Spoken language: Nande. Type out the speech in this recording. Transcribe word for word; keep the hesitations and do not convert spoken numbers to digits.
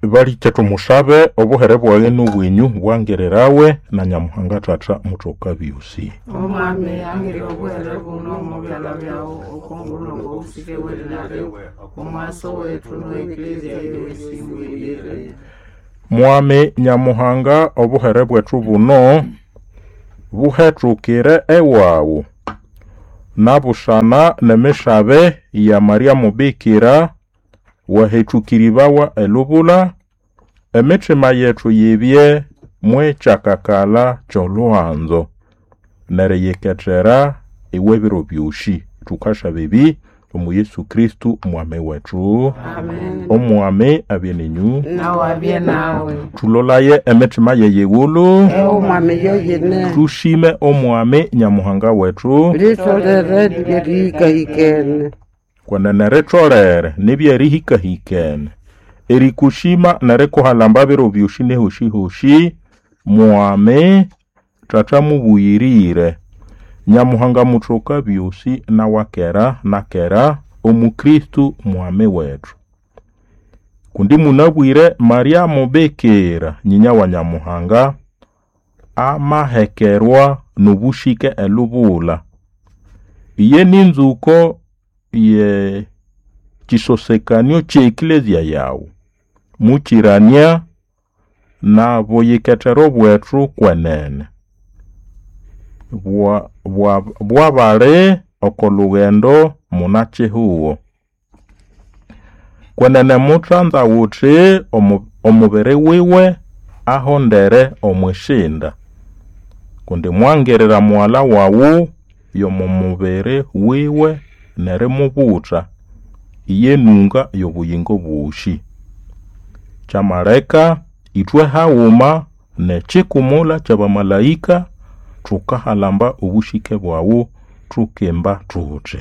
Balike tumusabe obuhere bwawe n'obwenyu bwangirirawe na Nyamuhanga Tata mutoka byusi. Omwami angire obuhere buno omu byalha byawu okongulho ng'obusike bw'erina liwe omwaso wethu n'oeklezia yosi ibuyirire. Mwami Nyamuhanga obuhere bwethu buno buhetukire ewawu nabusana n'emisabe ya Maria Mubikira wahetukiribawa elubula emitima yethu yibye mwekyakakala ky'olhuhanzo neriyikethera iwe biro byosi. Thukasaba ebi omu Yesu Kristu mwami wethu. Amen. Omwami abye ninyu. Nawe abye nawe. Thulolaye emitima yeyighulu. Omwami yoyene. Tushime omwami Nyamuhanga wethu. Litholere lyerihikahikene. Kwenene ritholere nibyerihikahikene erikushima nerikuhalamba biro byosi nehosi-hosi mwami Tata mubuyirire Nyamuhanga muthoka byosi nawakera nakera omu Kristo mwami wethu. Kundi munabwire Maria Mubikira nyinya wa Nyamuhanga amahekerwa n'obushike elubula. Iye ninzuko ye kisosekanio ky'eklezia yawu mukirania na buyikethero bwethu kwenene bwa bwa bwabali oko lughendo munakihugo. Kwenene muthanza wuthi omu, omubiri wiwe ahondere omwisinda kundi mwangirira mughalha wawu y'omu mubiri wiwe nerimubutha iye nunga y'obuyingo bwosi. Kyamaleka ithwe haghuma n'ekikumula ky'abamalaika thukahalamba obushike bwawu thukimba thuthi.